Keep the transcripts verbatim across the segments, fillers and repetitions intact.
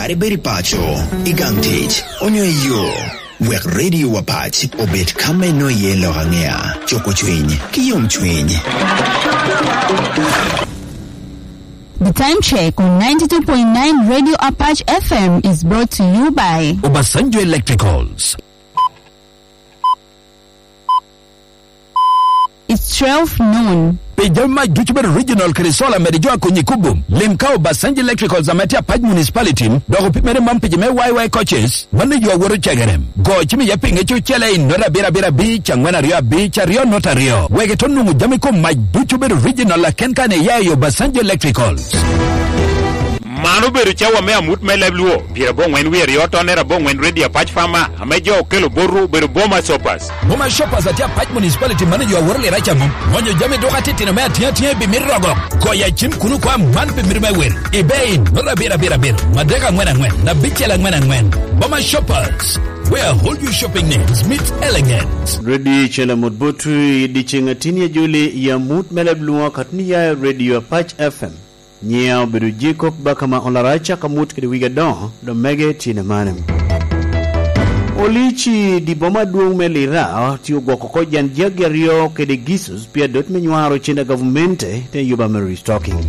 Kara ibed i paco, i gang tic, onyo i yo, wek Radio Apac obed ka me nwoŋo iye lok aŋea, cuko cwiny, ki yomcwiny. The time check on ninety-two point nine Radio Apache F M is brought to you by Obasanjo Electricals. It's twelve noon. Pi jami mac ducu bedo regional kede solar, mede jo a konyi kubo. Lim ka Obasanjo Electricals ame tye Apac Municipality, dok opimere man pi jo me Y Y coaches, mano yo a woto cegere. Go cim iye pi ŋec ocele i nota abiro abiro abic, angwen aryo abic, aryo nota aryo. Wek ito nwoŋo jami kom mac ducu bedo regional aken kan iya i Obasanjo Electricals. Man obedo cawa me amut me leb Luo, pyerabongwen wie aryo tonner abongwen Radio Apac Farmer, ame jo okelo botwu obedo Boma Shoppers. Boma Shoppers atye Apac Municipality, mano jo aworo lira caŋo. Ŋonyo jami duka titino me atiŋa atiŋa i bimit rogo. Goyo acim kun okwa man pi mito me wil. Ibe in, nota abiro abiro abiro, adek angwen angwen, abicel angwen angwen. Boma Shoppers, where all your shopping needs meet elegance. Ready chala mot botu i diceŋ atini ajoli i amut me leb Luo katuni ya Radio Apac F M. Nyiŋa obedo Jacob Bakama Olaraca ka mut kede wigi adoŋo, dok mege tye ni mane. Olici di boma adwoŋ me Lira tye ogwoko oko jan jagi aryo kede gisus pi adot me nywaro cen a gavumenti te yuba me restocking.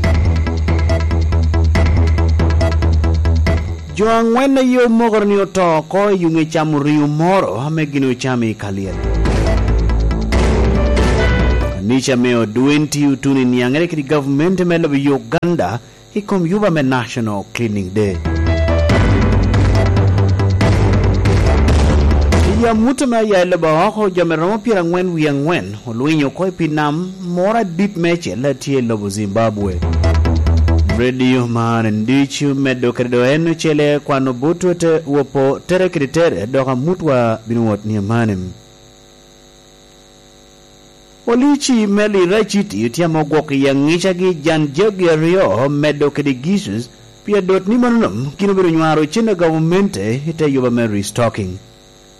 Jo aŋwen aye omokoro ni oto oko i yuŋ ecamo riŋo moro ame gin ocamo i Kalyel. Kanica me Odwenti otuno i niaŋere kede gavumenti me lobo Uganda i kom yuba me National Cleaning Day. I amut ame aya i lobo oko, jo me romo pyeraŋwen wie aŋwen olwinyo oko i pii nam moro adit meicel a tye i lobo Zimbabwe. Redio man ducu medde kede do en ocele kwano botwu te wopo tere kede tere, dok amutwa bino wot ni amane. Olici me Lira City otye ame ogwoko i aŋicagi jan jagi aryo medde kede gisus pi adot ni mano nom gin obedo nywaro cen a gavumenti i te yuba me restocking.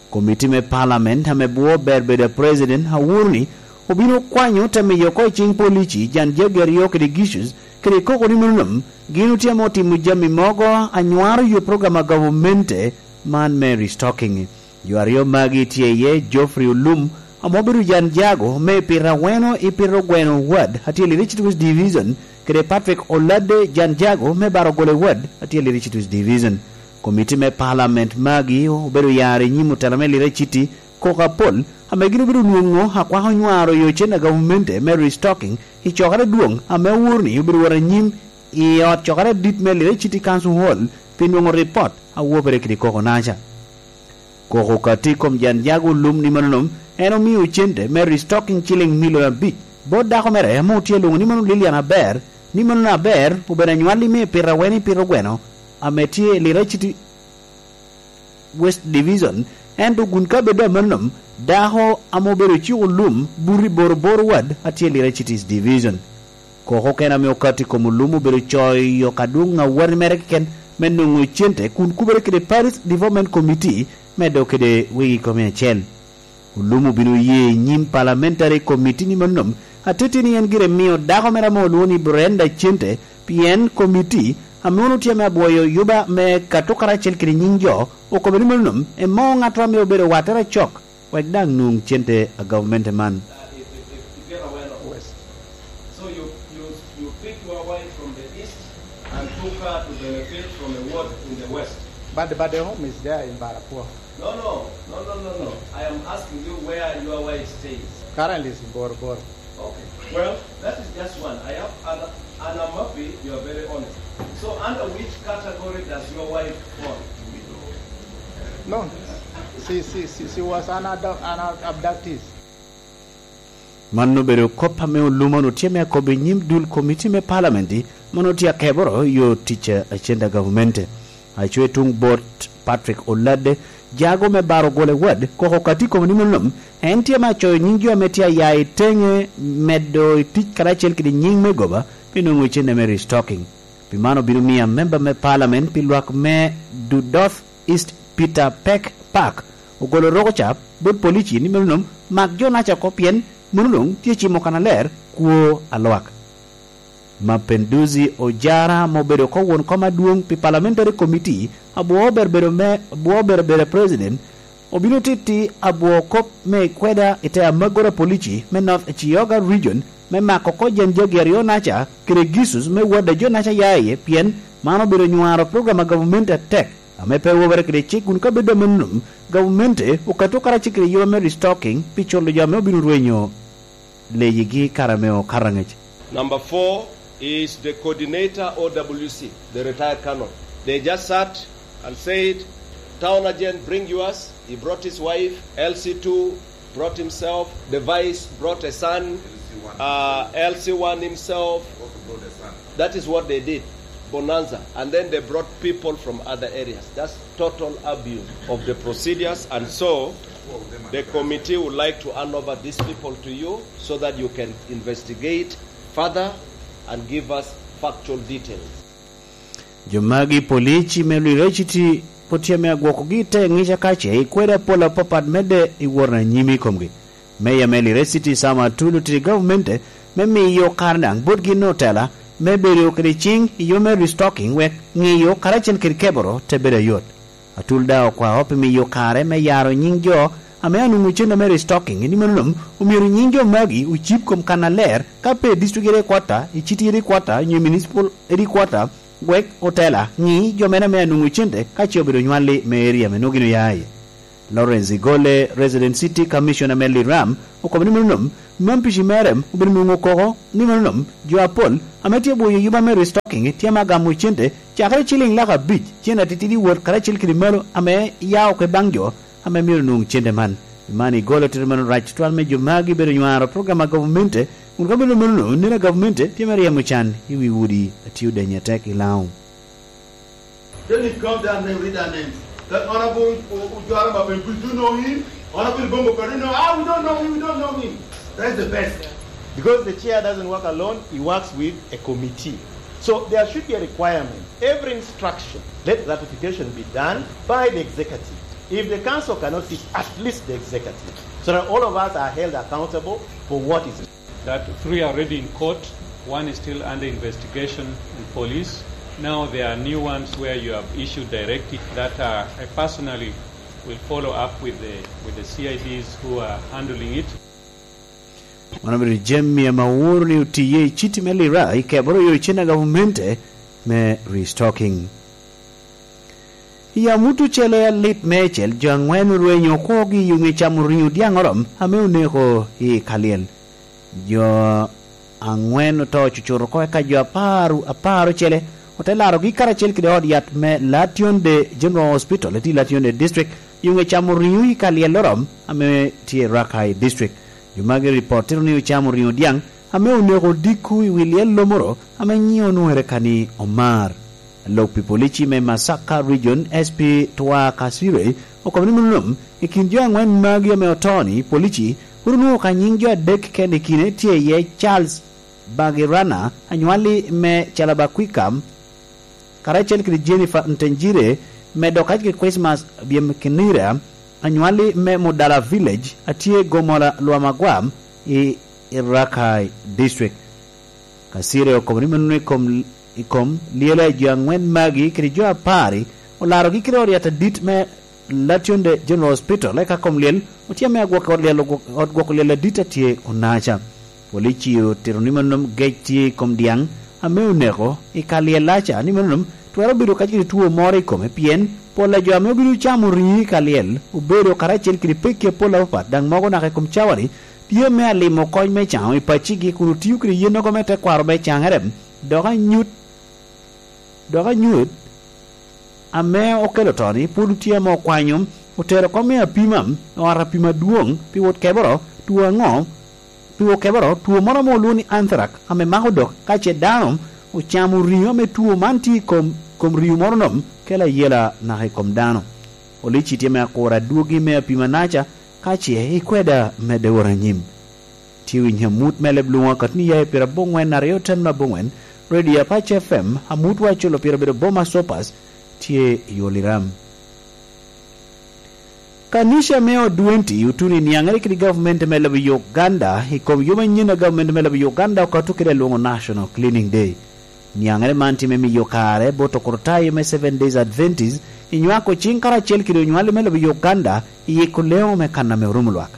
Komiti me Parliament ame bwo ber bedo a President awuro ni obino kwanyo te miyo oko i ciŋ Polici jan jagi aryo kede gisus kede koko ni mano nom gin otye ame otimo jami mogo a nywaro yo program a gavumenti man me restocking. Jo aryo magi tye iye Geoffrey Olum, ame obedo jan jago me pyerabongwen i pyerogweno wad a tye i Lira City West Division, kede Patrick Olade, jan jago me Barogole wad a tye i Lira City West Division. Komiti me Parliament magi obedo yaro i nyim otela me Lira City koko apol, ame gin obedo nwoŋo akwako nywaro yo cen a gavumenti me restocking i cokere adwoŋ ame owuro ni obedo wot anyim i ot cokere adit me Lira City Council Hall pi nwoŋo ripot a wobere kede koko naca. Koko ka tye i kom jan jago Olum ni mano nom, en omio cente me restocking ciliŋ milion abic bot dako mere ame otye lwoŋo ni mano Lilian Aber, ni mano aber obedo anywalli me pyerabongwen i pyerogweno ame tye i Lira City West Division, ento kun ka bed amannom, dako ame obedo ciko Olum buto i Boroboro wad a tye i Lira City East Division. Koko okene ame okato i kom Olum obedo coyo ka dwoŋ awati mere keken me nwoŋo cente kun kubere kede Parish Development Committee me dok kede wegi kome acel. Olum obino ye i nyim Parliamentary Committee ni mano nom, atiti ni en gire mio dako mere ame olwoŋo ni Brenda cente, pien committee ame onwoŋo tye ame abwoyo yuba me kato karacel kede nyiŋ jo okobo ni mano nom, emo ŋatto ame obedo wattere acok, wek daŋ nwoŋ cente a gavumenti man. West. So you, you, you pick your wife from the east and took her to benefit from a ward in the west. But, but the home is there in Barakuo. No, no, no, no, no, no. I am asking you where your wife stays. Currently is in Bor Bor. Okay. Well, that is just one. I have other, and I'm happy you are very honest. So under which category does your wife fall? No, she, she, she, she was an, ado- an abductee. Man obedo kop ame Olum onwoŋo tye me akobo i nyim dul komiti me Parliament, ma onwoŋo tye akeboro yo tic a cente a gavumenti. Aco i tuŋ bot Patrick Olade, jago me Barogole wad, koko ka tye i kome ni mano nom, en tye me acoyo nyiŋ jo ame tye aya i teŋe medo i tic karacel kede nyiŋ me goba pi nwoŋo cente me restocking. Pi man obino miyo amemba me Parliament pi lwak me Dudoth East Peter Peck Park ogolo roko ca bot polici ni mano nom mak jo naca oko pien mano doŋ tye cimo kannaler kwo a lwak. Mapenduzi Ojara, ma obedo oko won kom adwoŋ pi Parliamentary Committee, abwo obedo bedo me, abwo obedo bedo president, obino titti abwo kop me kweda i te amagoro a polici me North Chiyoga Region me mako oko jen jagi aryo naca kede gisus me wadda jo naca ya iye, pien man obedo nywaro program a gavumenti atek ame pe wobere kede cik, kun ka bedo amennom, gavumenti okato karacel kede yub me restocking pi culo jo ame obino rwenyo leyigi kare me okato angec. Number four is the coordinator O W C, the retired colonel. They just sat and said, "Town agent, bring yours." He brought his wife, L C two brought himself, the vice brought a son, uh, L C one himself. That is what they did, bonanza. And then they brought people from other areas. That's total abuse of the procedures. And so the committee would like to hand over these people to you so that you can investigate further and give us factual details. Jo magi polici me Liraciti pwod tye ame agwokogi i te ŋica ka ce i kwede apol apapat medde i wot anyim i komgi. Meya me Liraciti Sam Atul otito i gavumenti me miyo kare daŋ botgi notela me bedo kede ciŋ i yo me restocking wek ŋiyo karacel kede keboro te bedo ayot. Atul daŋ okwao pi miyo kare me yaro nyiŋ jo ame anwoŋo cente me restocking, ni mano omyero nyiŋ jo magi ocib kom kannaler, ka pe i district headquarter, i city headquarter, onyo i municipal headquarter, wek otela ŋi jo mene ame anwoŋo cente ka ce obedo nywalli me area ame nwoŋo gin oya iye. Lawrence Igole, Resident City Commissioner me Liram, okobo ni mano, mampici mere obedo nwoŋo koko ni mano, jo apol ame tye bwoyo yuba me restocking tye ame agamo cente cakere ciliŋ lak abic, cen atitidi wot karacel kede malo ame ya oko i baŋ jo ame myero nwoŋ cente man. Man Igole otito mano rac tutwal me jo magi bedo nywaro program a gavumenti, kun ka bedo mano, neno gavumenti tye me ryemo can i wi udi a tye odenyo atek i Laŋo. Then you come down and read our names. That Honorable U-, U-, Ujwara Maben, we do know him. Honorable Bongo Perino, ah, we don't know him, we don't know him. That's the best. Because the chair doesn't work alone, he works with a committee. So there should be a requirement. Every instruction, let ratification be done by the executive. If the council cannot sit, at least the executive. So that all of us are held accountable for what is that three are already in court, one is still under investigation in police. Now there are new ones where you have issued directive that, uh, I personally will follow up with the, with the C I Ds who are handling it. Mano obedo jami ame aworo ni otiye i citi me Lira i keboro yo i cen a gavumenti me restocking. I amut ocele alit meicel, jo aŋwen orwenyo okwogi i yoŋe camo riŋo dyaŋ orom ame oneko i Kalyel. Jo aŋwen oto cucut oko, eka jo apar, apar ocele ote larogi karacel kede ot yat me Lationde General Hospital, eti Lationde District, i yoŋe camo riŋo i Kalyel orom ame tye i Rakai District. Jo magi ripot tito ni ocamo riŋo dyaŋ ame oneko odiko i wi lyel lomoro ame nyiŋe onwoŋere ka ni Omar. Lok pi polici me Masaka Region, S P Twa Kasire, okobo ni mano nom, i kin jo aŋwen magi ame oto-ni, polici pwod onwoŋo ka nyiŋ jo adek keken, i kine tye iye Charles Bagirana, anywalli me Calabakwika, karacel kede Jennifer Ntenjire, medo kacel kede Christmas Byem Kinira, anywalli me Mudala Village, a tye Gomola Lwamagwa i, i Rakai District. Kasire okobo ni mano i kom, i kom lyel a jo aŋwen magi kede jo apar-ri, olarogi kede ot yat adit me Lationde General Hospital, eka kom lyel otye ame agwok ot lyel, ot gwoko lyel adit a tye Onaca. Polici otito ni mano gec tye i kom dyaŋ ame oneko i ka lyel-laca, ni mano twero bedo kacel kede two moro i kome, pien pol a jo ame obino camo riŋo i ka lyel obedo karacel kede pekki apol apapat, daŋ mogo naka i kom cawani tye me alimo kony me caŋo i paccigi, kun otio kede yennogo me tekwaro me caŋere, dok anyut, dok anyut ame okelo to-ni pwod tye ame okwanyo, otero oko me apima, ot apima adwoŋ pi wot keboro, two aŋo, pi wot keboro, two moro ame olwoŋo ni anthrax, ame mako dok ka ce dano ocamo riŋo ame two man tye i kom, kom riŋo moro nom, kelo ayela naka i kom dano. Polici tye me akura adwogi me apima naca, ka ce ikweda medde wot anyim. Tye winyo amut me leb lwoŋo akatni ya i pyerabongwen aryo ten me abongwen, Radio Apac F M, amutwa culo pire obedo Boma Sopas, tye i Oliram. Kanica me Odwenti otuno i niaŋere kede gavumenti me lobo Uganda i kom yo manyen a gavumenti me lobo Uganda okato kede alwoŋo National Cleaning Day. Niaŋere man tye me miyo kare bot okrutayo me Seven Days Adventist i nywako ciŋ karacel kede onywali me lobo Uganda i yiko leŋo me kan ame orumo lwak.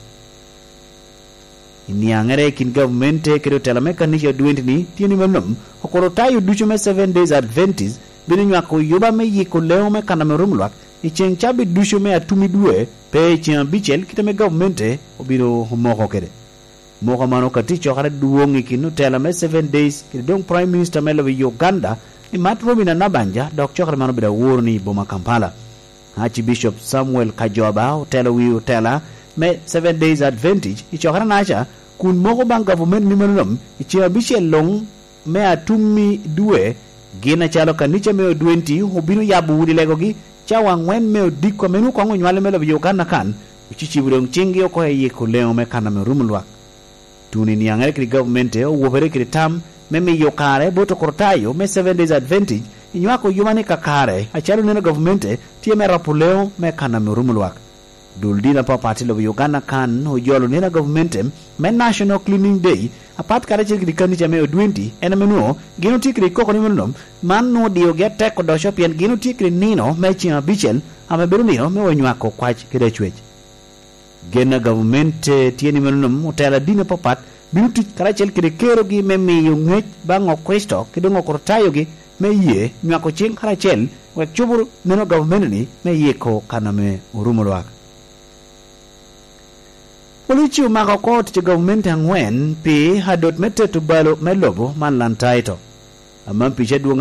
I niaŋere i kin gavumenti kede otela me kanica Odwenti-ni tye ni mano, okrutayo ducu me Seven Days Adventist bino nywako yuba me yiko leŋo me kan ame orumo lwak i ceŋ cabit ducu me atum i dwe, pe i ceŋ abicel kite ame gavumenti obino omoko kede. Moko man okatti i cokere adwoŋ i kin otela me Seven Days kede doŋ Prime Minister me lobo Uganda, i Matt Robinah Nabbanja, dok cokere man obedo aworo ni i boma Kampala. Archbishop Samuel Kajoba otelo wi otela me Seven Days Adventist i cokere naca, kun moko baŋ gavumenti ni mano nom i ceŋ abicel luŋ me atum i dwe, gin acalo kanica me Odwenti obino yabo udi legogi cawa aŋwen me odiko ame nwoŋo koŋ onywale me lobo Uganda kan, ocicibo doŋ ciŋgi oko i yiko leŋo me kan ame orumo lwak. Tuno i niaŋere kede gavumenti owobere kede tam me miyo kare bot okrutayo me Seven Days Adventist i nywako yuba ni kakare acalo neno gavumenti tye me rapo leŋo me kan ame orumo lwak. Dul dini apapat i lobo Uganda kan ojolo neno a gavumenti me National Cleaning Day apat karacel kede kanica me Odwenti, en ame nwoŋo gin otye kede koko ni mano nom. Man nwoŋo odiogi atek odoco pien gin otye kede nino me ceŋ abicel ame bedo nino me onywako kwac kede acwec. Gen a gavumenti tye ni mano nom otelo adini apapat bino tic karacel kede kerogi me miyo ŋec baŋ Okricito kede doŋ okrutayogi me ye nywako ciŋ karacel wek cobo neno gavumenti-ni me yiko kan ame orumo lwak. Polici omako oko tic a gavumenti aŋwen pi adot me teto balo me lobo man Lantaito. Aman pica adwoŋ